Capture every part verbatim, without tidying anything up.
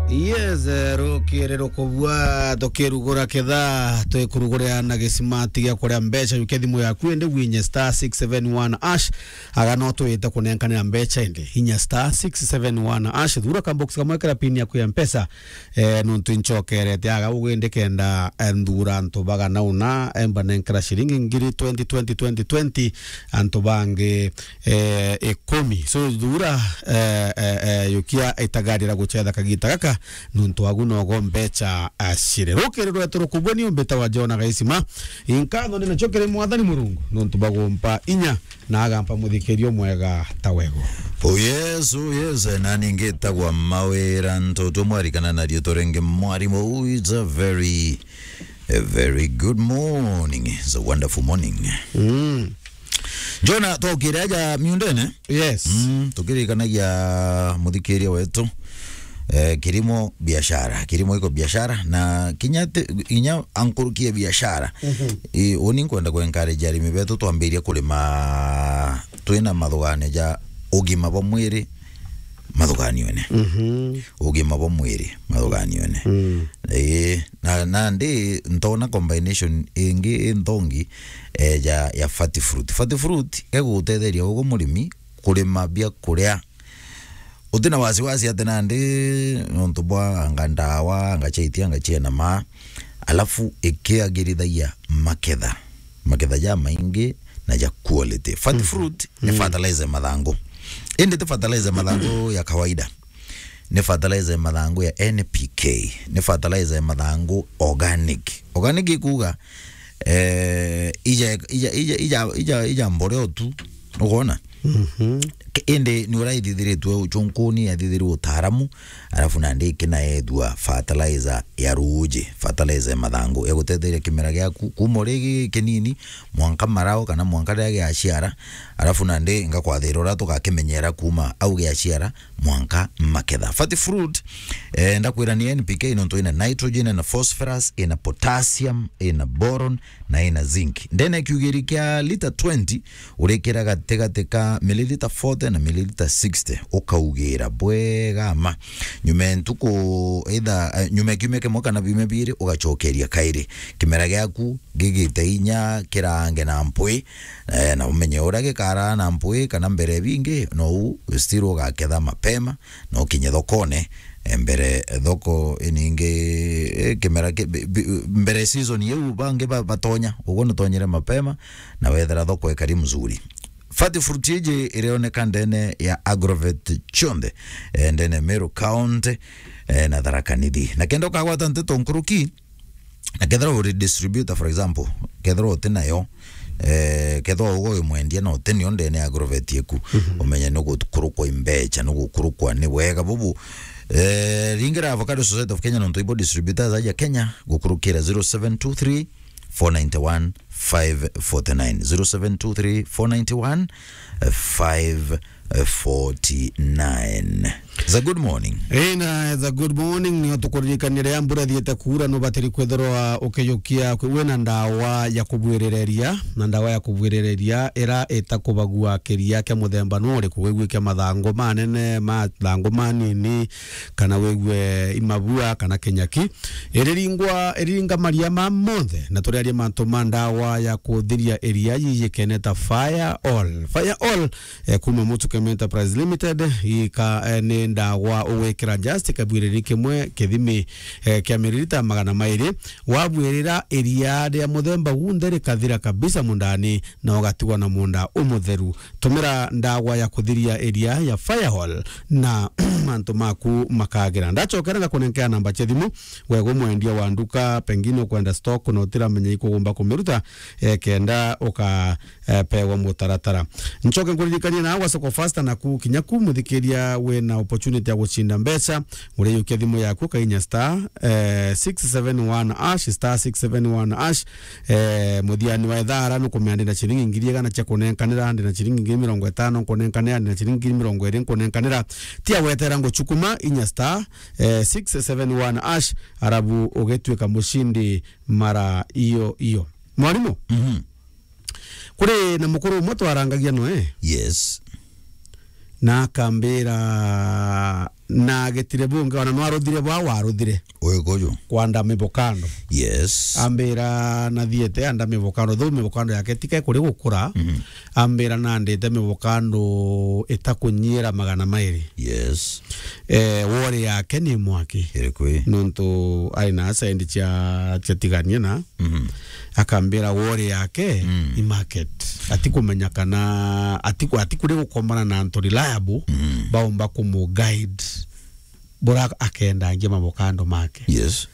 Yes, eh, rukiri rukubua, tukirugura kithaa, twikurugurira na gisimati gia kuria mbeca, yukia thimu yaku, indi winye star six seven one hash, aga no twite kunenkanira mbeca, indi inya star six seven one hash, thura ka box kamwe kira pin yaku ya Mpesa, eh, nontu inchokerete aga ugindi kenda, eh, nthura antu bagana una, eh, mbanenkera ciringi ngiri twenty, twenty, twenty, twenty, antu bangi, eh, ikumi. So, thura, eh, eh, eh, yukia itagarira gucetha kagita gaka, nontu agu nogo mbeca, ah, ciri. Rukiri rwetu rukubua ni umbita wa Jona Gaisima. Inkatho ni nacio kiri Mwathani Murungu, nontu bagumpa inya na agampa muthikirio mwega ta wego. Oh yes, oh yes, na ningi tagwa mawira ntoto mwarikana na riitwa ringi mwarimu. It's a very, a very good morning. It's a wonderful morning. Mm. Jona, twokire aja miundene. Yes. Mm, tukirikanagia muthikiria wetu. Eh, kirimo biashara, kirimo iko biashara, na kinya te, inya ankurukie biashara. Mhm. I, uni nkwenda ku encourage arimi betu twambirie kurima twina mathugania ja ugima bwa mwiri mathuganione. Mhm. Ugima bwa mwiri mathuganione. Mm. Ii, na, nandi ntona combination ingi inthongi, eh, ya, ya fat fruit. Fat fruit egugutetheria ugu murimi kurima bia kuria utina wasiwasi ati nandi nontu bwa anga ndawa, anga chaiti, anga chiena ma, alafu ikiagirithagia maketha, maketha ja maingi na ja quality. Fat fruit ni fertilizer ya mathangu. Indi ti fertilizer ya mathangu ya kawaida. Ni fertilizer ya mathangu ya N P K. Ni fertilizer ya mathangu organic. Organic ikuga, eh, ija, ija, ija, ija, ija, ija mboreo tu. Ukwona? Mhm. Ke-, indi ni uraithithiritwe uchunkuni, yathithirirwe utaaramu, alafu nandi ikinaethua fertilizer ya ruuji, fertilizer ya mathangu, egutetheria kimera giaku kuma uri gi-, kinini, mwanka marao kana mwanka riria giaciara, alafu nandi ngakwathira uria tugakimenyera kuma au giaciara mwanka maketha. Fat fruit, eh, ndakwira ni N P K nontu ina nitrogen, ina phosphorus, ina potassium, ina boron, na ina zinc. Ndene kiugiri kia lita twenty, urikira gatigati ka milliliter forty na milliliter sixty, ukaugira bwega ma. Nyuma ya ntuku either, eh, nyuma ya kiumia kimwe kana biumia biiri, ugacokeria kairi. Kimera giaku gigite inya kirange na mpwi, eh, na umenye uria gikaraa na mpwi kana mbere bingi, nou still ugaketha mapema, na ukinye thokone, eh, mbere thoko iningi, eh, kimera ki-, bi-, bi-, mbere season iu bangi ba-, batonya, uguo nitonyire mapema, na wethira thoko ikari mzuri. Fat fruit iji irioneka ndene ya Agrovet chionthe, eh, ndene Meru County, eh, na Tharaka Nithi. Na kenda ukagwata nteto nkuruki, na kethira uri distributor, for example, kethira uti nayo, eh, kethira ugo wi mwendia na uti nio ndene ya Agrovet iku, mhm, umenye ni gukurukwa imbecha, ni gukurukwa ni wega bubu. Eh, ringira Avocado Society of Kenya nontu ibo distributors aja Kenya, gukurukira zero seven two three, four nine one, five forty nine, zero seven two three, four nine one, five forty nine. It's a good morning. Eh, na it's a good morning. Nio tukuririkania riria mbura ithiite kuura, nubatiri kwithirwa ukiyukia kwi-, wina ndawa ya kubwirireria, na ndawa ya kubwirireria ira itakubagua kiria kia muthemba nu uriku, wigue kia mathangu manene, mathangu manini, kana wigue imabua, kana kinyaki. Iriringwa, iriringa maria ma monthe, na turiaria mantu ma ndawa ya kuthiria iria yiyikene ta Fire All. Fire All, eh, kuma Mutukem Enterprise Limited, ika, eh, ni ndawa ugwikira just kabwiriri kimwe kithimi, eh, kia miririta magana mairi. Wabwirira iria ria muthemba gunthe rikathira kabisa mundani, na ugatigwa na munda umutheru. Tumira ndawa ya kuthiria iria ya Fire All na mantu maku makagira. Ndachokera ngakunenkea namba cia thimu, wego mwendia wa nduka, pengine ukwenda stock na utiramenya ikugumba kumiruta, eh, kenda uka, eh, pewa mutaratara. Nchoke nkuririkanie na gwa Soko Fasta na ku kinya ku muthikiria wina opportunity ya gucinda mbeca, uriyukia thimu yaku kainya star, eh, six seven one hash, star six seven one hash, eh, muthiani wa ithara nukumenya ndina ciringi ngiri igana cia kunenkanira, ndina ciringi ngiri mirongo itano nkunenkanira, ndina ciringi ngiri mirongo iri nkunenkanira. Tia wetera nguchukuma inya star, eh, six seven one hash, arabu ugituika mucindi mara iyo iyo. Mwarimu? Mhm. Kuri na mukuru umwe twarangagia noe. Yes. Na akambira Na gitire bungi, ona nwaruthire bwa waruthire. Uyu kuju. Kwanda mivokando. Yes. Ambira nathiete anda mivokando, though mivokando yake tika ikuri gukura. Mhm. Ambira nandite mivokando itakunyiira magana mairi. Yes. Eh, wori yake ni mwaki. Iriku ii? Nontu ari na sendi cia, cia tigania na. Mhm. Akambira wori yake Mm. i market. Atikumenya kana, atiku-, atikuri gukomana na antu reliable, Mm. baumba kumu guide bura akendangia mavokando make. Yes.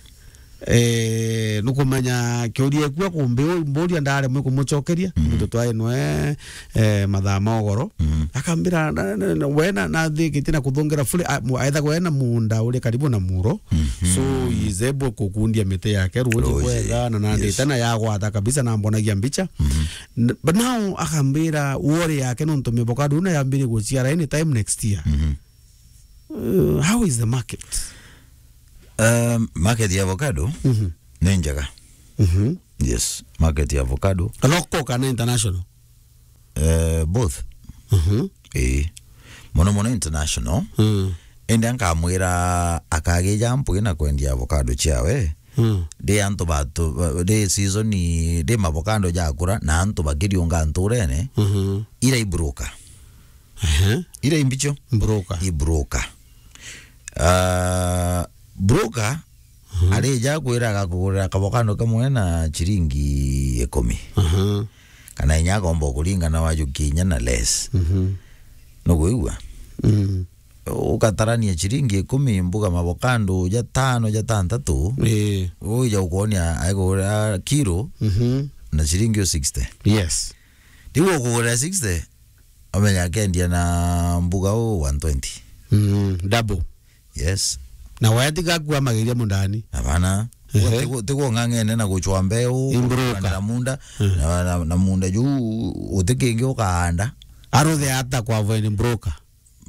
Eh, nukumenya kiuria ekua kumbi u-, mburia ndaremwe kumucokeria, Mm. nontu twari nwe, eh, mathaa ma ugoro. Mm. Akambira, na, na, na, we na, nathikitie na kuthungira fully, a, mu-, aethagwa ena munda uri karibu na muro. Mhm. So, he is able kukundia miti yake ruji Ruji, bwega, na nandite yes. na yagwata kabisa, na mbonagia mbicha. Mhm. N-, but now, akambira, wori yake nontu mivokado na yambire guciara anytime next year. Mhm. Uh, how is the market? Um, market ya avocado Mhm. ni njega. Mhm. Yes, market ya avocado. Local kana international? Eh, both. Mhm. Ii. Mono mono international. Mm. Indi nkamwira akagija mpwi na kwendia avocado ciawe. Mm. Ndi antu batu, ndi season, ndi mavokando jakura na antu bakiriunga nturene. Mhm. Ira i broker. Ehe. Ira i mbicho? Broker. I broker. Ah, broker Mhm. arija kwira agakugurira kavokando kamwe na chiringi ikumi. Aha. Kana inya akomba kuringana wajukia inya na less. Mhm. Nukwigua? Mm. Ukatarania chiringi ikumi mbuga mavokando jatano, jatantatu. Ii. Uja ukonia aikugurira kilo Mhm. na chiringi o sixty. Yes. Riu ukugurira sixty, umenya akendia na mbuga u one twenty. Mm, double. Yes. Na waya tiga kua magiria mundani. Hapana. Ehe. Tigu-, tigu ng'ang'ene na guchwa mbeu, Imburuka. Kuranira munda, Mm. na, na, na munda juu utikingi ukaanda. Aruthe ata kwa avoid broker?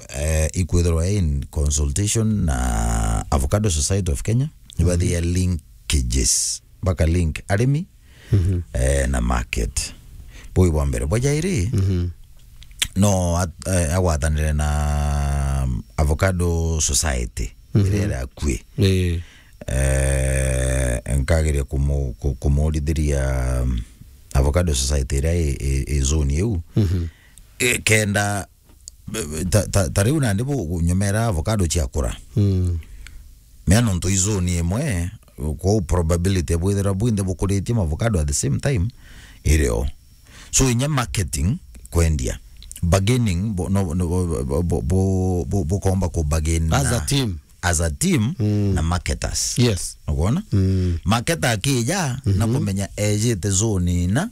Eh, ikwithirwa in consultation na Avocado Society of Kenya, nibathia linkages, baka link arimi, Mhm. eh, na market. Bui bwa mbere. Bwa jairi, Mhm. no at-, eh, agwatanire na Avocado Society, Mhm. iria iri akui. Ii. Eh, nkageria kumu-, ku-, kumurithiria, um, Avocado Society iria i, i, i zone iu. Mhm. Eh, kenda, ta, ta, ta riu nandi bu-, nyomera avocado ciakura. Mm. Mea nontu i zone imwe, kwou probability bwithira bwinthe bukuritie mavocado at the same time, irio. So, inya marketing, kwendia, bargaining, bu-, no, no, bu-, bu-, bu-, bu-, bukomba ku bargain As a na team. As a team Mm. na marketers. Yes. Ukwona? Mm. Marketer akija, na Mhm. kumenya ejite zone ina,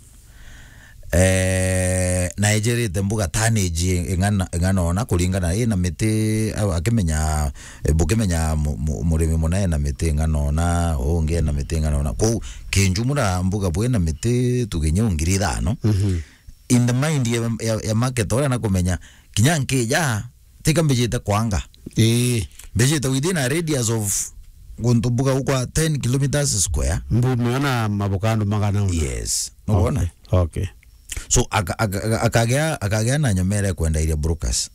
eh, na ejerite mbuga tonnage ing'ana, ing'ana ona kuringana, ina miti, a-, akimenya, eh, bukimenya mu-, mu-, murimi muna ena miti ing'ana ona, ungi ena miti ing'ana ona. Kwou, kinjumura mbuga bwina miti tuge inya ngiri ithano. Mhm. In the mind ya, ya, ya marketer uria na kumenya, kinya nkija, tika mbijite kwanga. Ii. Mbijite within a radius of guntu mbuga gukwa ten kilometers square. Mbu meona mavokando magana una. Yes. Nukwona? Okay. Okay. So, aka-, aka-, aka-, akagea, akagea na nyomera ya kwenda iria brokers.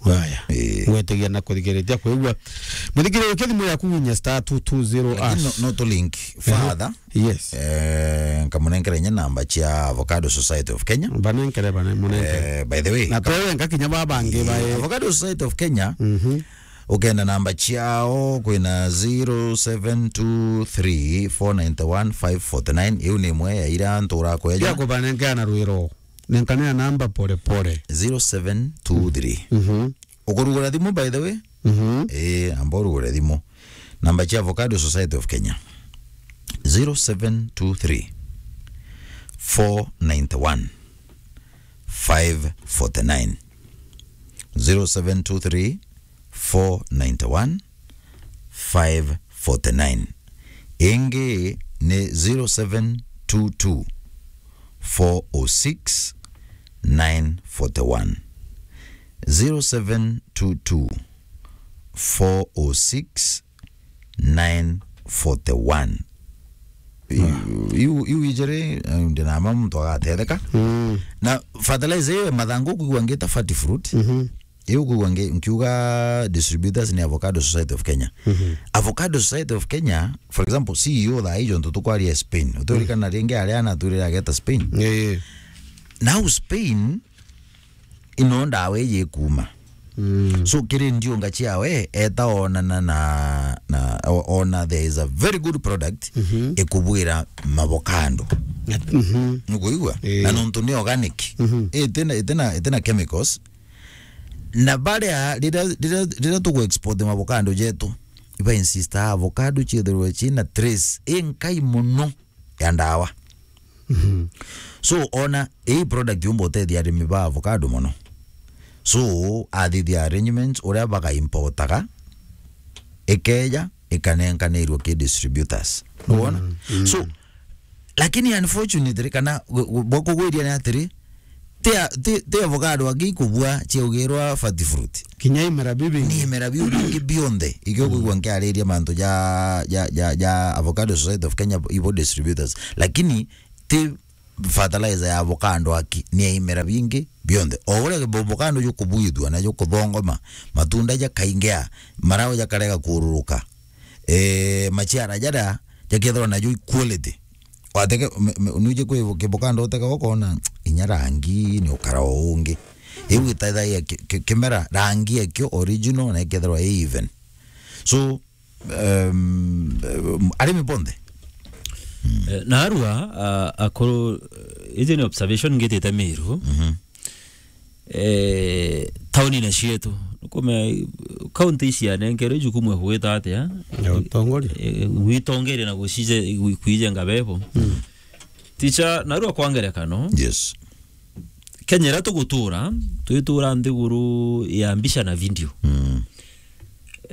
Waya. Ii. Gwetigia na kuthikiriria kwigua. Muthikiriria, ukia thimu yaku winya star two two zero Lakini hash. No, no to link further. Yes. Eh, nkamunenkera inya namba cia Avocado Society of Kenya. Banenkere, bane-, munenkere. Eh, by the way, Na twewe nka kinya ba bangi Eh, bae. Avocado Society of Kenya, Mhm. ukenda namba ciao, kwina zero seven two three four nine one five forty nine. Iu ni imwe ya ira ntura kweja. Bia kubanenkera na rwiro. Nenkanea namba pole pole. Zero seven two three. Mhm. Ukurugura thimu, by the way? Mhm. Eh, amba urugure thimu. Namba cia Avocado Society of Kenya. Zero seven two three, four nine one, five forty nine. Zero seven two three, four nine one, five forty nine. Ingi ni zero seven two two, four oh six, nine forty one. Zero seven two two, four oh six, nine forty one. Iu, iu, iu ijiri, eh, ndinama muntu agatetheka. Mm. Na fertilizer iyo ya mathangu kwigua ngita Fertifruit. Mhm. Iu kwigua ngi-, nkiuga distributors ni Avocado Society of Kenya. Mhm. Avocado Society of Kenya, for example, C E O thaa ijo ntu tukwaria Spain. Uturikana ringi aria anaturire ageta Spain. Ii. Now Spain, ino ndawa iji ikuma. Mm. So, kiri ndiunga ciawe, eta onana na, na, o-, ona there is a very good product, mhm, ikubwira mavocado. Mhm. Nukuigua? Ii. Na nontu ni organic. Mhm. Itina, itina, itina chemicals. Na baria, riria, riria, riria tugu export mavocado jetu, iba insista avocado ciethirwe cina trace inkai mono ya ndawa. Mhm. So, ona ii product yumba utethia arimi ba avocado mono. So, athithia arrangements uria baga importaga, ikeja, ikanenkanirwa ki distributors. Nuwona? Mm, mm. So, lakini unfortunately, kana gu-, gu-, bwa kugwiria ni atiri, ti a-, ti, ti avocado angi ikubua ciaugirwa fat fruit. Kinya imera bibi. Ni imera biu bingi bionthe. Ikio kwigua nkiariria mantu ja, ja, ja, ja Avocado Society of Kenya, ibo distributors. Lakini ti fertilizer ya avocado aki, ni ya imera bingi bionthe. O uria avocado jukubuithua na jukuthongoma, matunda jakaingea, marau jakarega kururuka, eh, maciara jaria jakethirwa najo i quality. Wateke, me, me, nuje kwi kibukando uteke ukona inya rangi ni ukara o ungi. Iu itethagia ki-, ki-, kimera rangi ekio original na ikethirwa i even. So, um, arimi bonthe. Eh, narua, a, akuru, eh, iji ni observation ngitite Miru. Mhm. Eh, taunine cietu, nukume, county ici cianenkerwe jukumu ya kugwita atia? Ya utongoria. Eh, gwitongeria na gucije-, gwi-, kwijenga bebo. Mm. Ticha, narua kwa ngerekano. Yes. Kenya iria tugutura, twitura nthiguru ya mbica na video. Mm.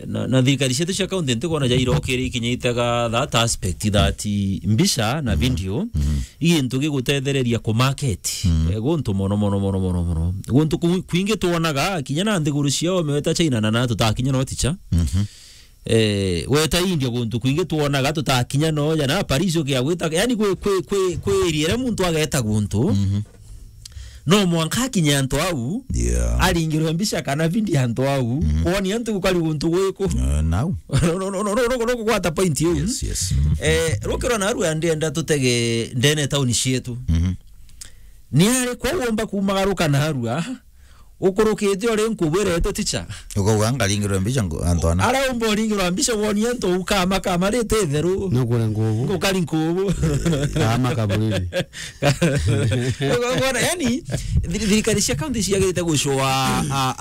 Na, na thirikari cietu cia county ntikwona jairokire ikinyitega that aspect, that mbica na video, mhm, i gintu gigutethereria ku market, mm, eh, guntu mono, mono, mono, mono, mono. Guntu ku-, kwingi twonaga, kinya na nthiguru cia ome weta China na, na tutakinya no ticha. Mhm. Eh, weta India guntu kwingi twonaga tutakinya no ja na Paris ukia gwita, yani kwi, kwi, kwi, kwi area iria muntu ageta guntu. Mhm. No mwanka akinye antu au, yeah, aringirwe mbica kana video antu au, mhm, kwoni antu gukari guntu gwiku. Eh, nau. No, no, no, no, no, no, kugwata point iu. Yes, yes. Mhm. Eh, rukirwa narua ndienda tutege ndene tauni cietu. Mhm. Ni ari kwa uomba kumagaruka narua, ukurukite uri nkubwirete ticha. Ukauga ngaringirwe mbica ngu-, antu ana. Ara umba uringirwa mbica woni antu ukama kama rite itheru. Nukure ngubu. Ngukari nkubu. Ama kaburiri. Ukona, yani, thiri-, thirikari cia county ciagirite gucua, a,